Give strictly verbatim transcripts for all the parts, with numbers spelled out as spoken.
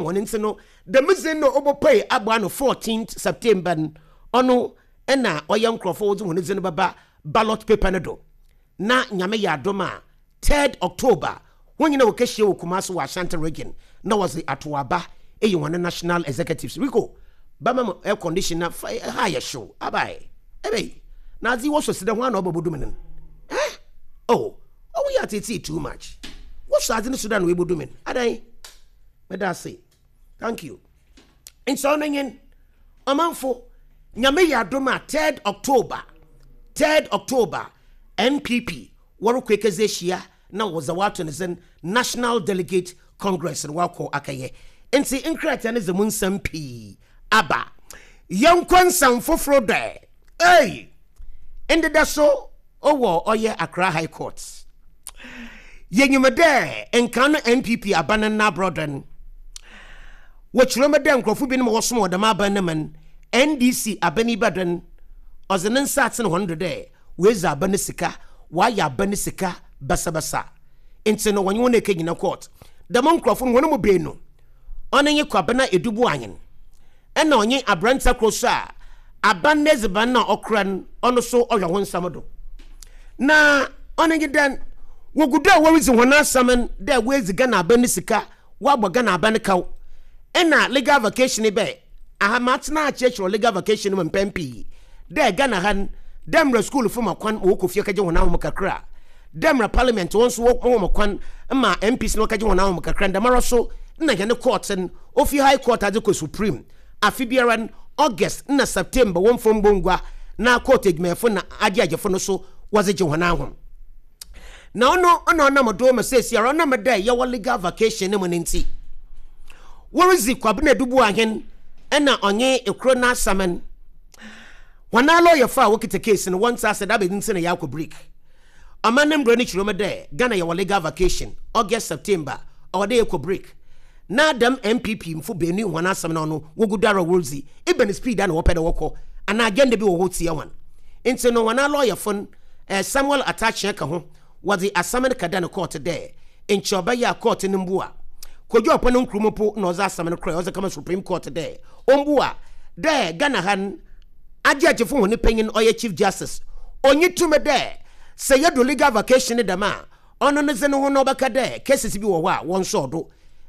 Hɔn ntsi no, dɛm dzin no obopue aboa no fourteenth September no, ɔno na ɔyɛ nkorɔfo a wɔdze hɔn dzin bɛba ballot paper no do. Na Nyame yɛ adom a, third October, hɔn nyina wɔkɛhyia wɔ Kumasi wɔ Ashanti Region na wɔdze atow aba eyi hɔn national executives. Rico, bɛma me air condition na fa ha yɛ hyew abae. Ebei, na adze yi wɔsɔ si dɛ hwan na ɔba bodu me no? Eh? Oh, ɔwo yɛ atseetsee too much. Wɔsɔ adze no so dɛ na oebodu me no. Adan? Meda ase. Thank you. Nti ɔno nyen, ɔmanfo, Nyame yɛ adom a third October, third October, N P P wɔrekɔ ekedzi ahyia na wɔdze wɔato ne dzin National Delegate Congress no wakɔ akɛyɛ. Nti nkrataa no dze mu nsɛm pii aba. Yɛnkɔ nsɛm foforɔ dɛ. Ei! Ndeda so ɔwɔ ɔyɛ Accra High Court. Yɛnyim dɛ nkan no N P P aba no n'aborɔdɔ no. Wɔkyerɛ mu dɛ nkurɔfo binom a wɔsom wɔ dɛm aban no mu no, N D C aban yi bɛdɔ no, ɔdze ne nsa atene hɔn do dɛ woedzi aba no sika, wɔayɛ aba no sika basabasa. Nti no wɔnye wɔn ekegyina court. Dɛm nkurɔfo no hɔn mu beenu, ɔno nye Kwabena Edubu Anyen, ɛna ɔnye aberanteɛ koro so a aban n'edziban na ɔkora no, ɔno so ɔhwɛ ho nsɛm do. Na ɔno nye dɛn, wogu do a wɔredzi hɔn asɛm no dɛ woedzi Ghana aban no sika, wɔabɔ Ghana aban no kaw. Ɛna legal vacation bɛ aha matena akyerɛkyerɛ legal vacation mu mpɛn pii dɛ Ghana ha no, dɛ mmerɛ schoolfo ma kwan ma wɔkɔ fie kɛgye wɔn ahom kakra, dɛ mmerɛ parliament wɔn nso wɔn kwan ma M Ps no wɔkɛgye wɔn ahom kakra, dɛmara so na yɛne court no ofi High Court adze kɔ Supreme, afe biara no August na September wɔn fam bongua na court adwumayɛfo na agye agyefo no so wɔdze gye wɔn ahom. Na ɔno ɔna ɔnam do ma seesi ara ɔnam dɛ yɛwɔ legal vacation ne mu ne nti wɔredzi Kwabena Dubu Ahen ɛna ɔnye ekuro n'asaman wɔn alɔyɛfo a wɔkita case no wɔn nsa ase dɛ abɛdi nti na yɛakɔ break. Ɔman ne mbrɛ no kyerɛ mu dɛ Ghana yɛwɔ legal vacation August, September, ɔwɔ dɛ yɛkɔ break. Na dɛm N P P mfo beenu wɔn asɛm no ɔno wogu do ara wɔredzi ebɛn speed a na wɔpɛ dɛ wɔkɔ anaa agenda bi wɔ hɔ tia wɔn. Nti no wɔn alɔyɛfo no, eh, Samuel Atakyea ka ho, wɔdze asɛm no kada no court dɛ nkyɛ ɔbɛyɛ a court no mbu a Kodwo Ɔpɔ no nkurom po na ɔdze asɛm no korɛ ɔdze kama Supreme Court dɛ ɔmbu a dɛ Ghana ha no agye agyefo hɔn panyin ɔyɛ Chief Justice onyi tumi dɛ sɛ yɛdo legal vacation no dɛm a ɔno no dze ne ho na ɔbɛka dɛ cases bi wɔ hɔ a wɔnsɔɔ do.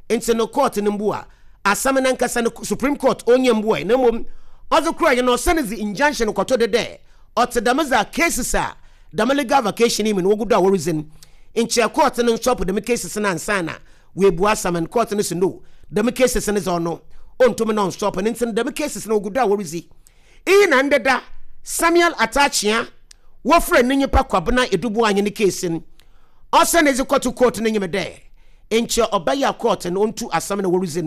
Nti no court no mbu a asɛm no ankasa no Supreme Court ɔnyɛ mbu a na mmom ɔdze kora yɛ no ɔsɛne dze injunction kɔtɔ de dɛ ɔte dɛm dze a cases a dɛm legal vacation yi mu no wɔgu do a wɔredzi no nkyɛ court no nstop dɛm cases no ansa na wɔebu asɛm no. Court no so no, dɛm cases no dze ɔno ɔntumi na ɔnstop no. Nti no dɛm cases no wɔgu do a wɔredzi iyi. Na ndeda Samuel Atakyea wɔfrɛ ne nyimpa Kwabena Edubu Anye ne case no ɔsɛ ne dze kɔto court no nyim dɛ nkyɛ ɔbɛyɛ a court no ɔntu asɛm no wɔredzi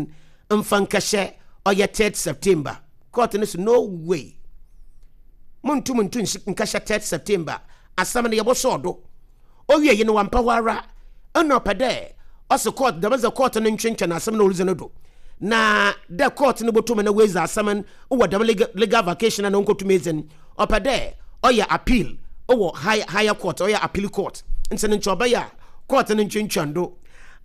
no mfa nkɛhyɛ ɔyɛ third September. Court no so no way, montum ntu nkɛhyɛ third September, asɛm no yɛbɔsɔɔ do. Owie yi no wampa hɔ ara ɛna ɔpɛ dɛ ɔsɛ court dɛm sɛ court no ntwentwɛn asɛm no ɔredzi no do na dɛ court no bɔtum na wɔadzi asɛm no wɔ dɛm legal, legal vacation na ɔnkɔtum edzi no, ɔpɛ dɛ ɔyɛ appeal wɔ high, higher court, ɔyɛ appeal court. Nti no nkyɛ ɔbɛyɛ a court no ntwentwɛn do.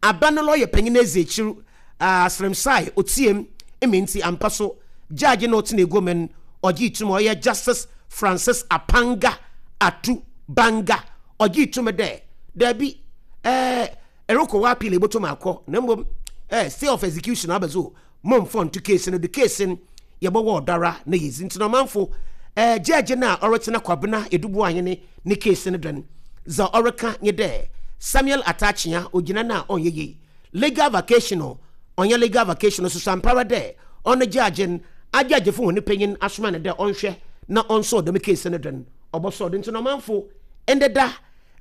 Aba no lɔyɛ panyin edzi akyir asremsae otiem emi nti ampa so judge na ɔtena egu mu no ɔgye tum, ɔyɛ Justice Francis Apanga Atu Banga, ɔgye tum dɛ daabi, ɛɛ ɛrekɔ wɔ appeal ebotum akɔ na mmom ɛɛ stay of execution abɛzo momfɔ nto case no do. Case no yɛbɛwɔ ɔdara na yɛzi. Nti na ɔmanfo, ɛɛ judge no a ɔretena Kwabena Edubu Ahene ne case no do no, dza ɔreka nye dɛ Samuel Atakyea ogyina no a ɔnyɛ yie legal vacation no, ɔnyɛ legal vacation no soso ampara dɛ ɔno judge no agyaagyefo hɔn panyin asoma no dɛ ɔnhwɛ na ɔnsɔɔ dɛm case no do no ɔbɔsɔɔ do. Nti na ɔmanfo, ndeda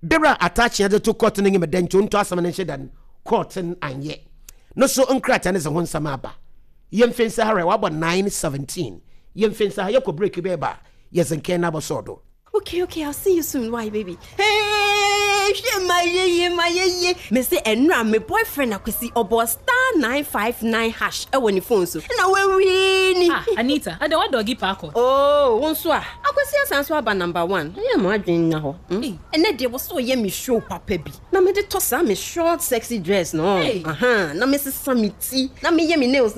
bere a Atakyea de to court no nyim dɛ nti ɔnto asɛm no nhyɛ da no, court no anyɛ no so nkrataa no dze ho nsɛm aba. Yɛmfɛ nsa ha rɛ wabɔ nine seventeen, yɛmfɛ nsa ha yɛkɔ break bɛɛba a yɛdze nkɛn no abɔsɔɔ do. Okay, okay, I'll see you soon. Why, baby? Hey! Hwɛ, ma yeye, ma yeye. Me se ɛnura me boyfriend Akwasi ɔbɔ star nine five nine hash ɛwɔ ne phone so ɛna wawie ni. Ah, Anita, ada wa doggy paako. Oh, wo nso a Akwasi asan so aba number one. Ɛyɛ mo adwene nya hɔ. Hey. Ɛnɛ deɛ, wɔ so ɔyɛ me show papa bi na mede tɔ saa me short sexy dress no. Hey. Aha, na mesesa me ti na meyɛ me nails.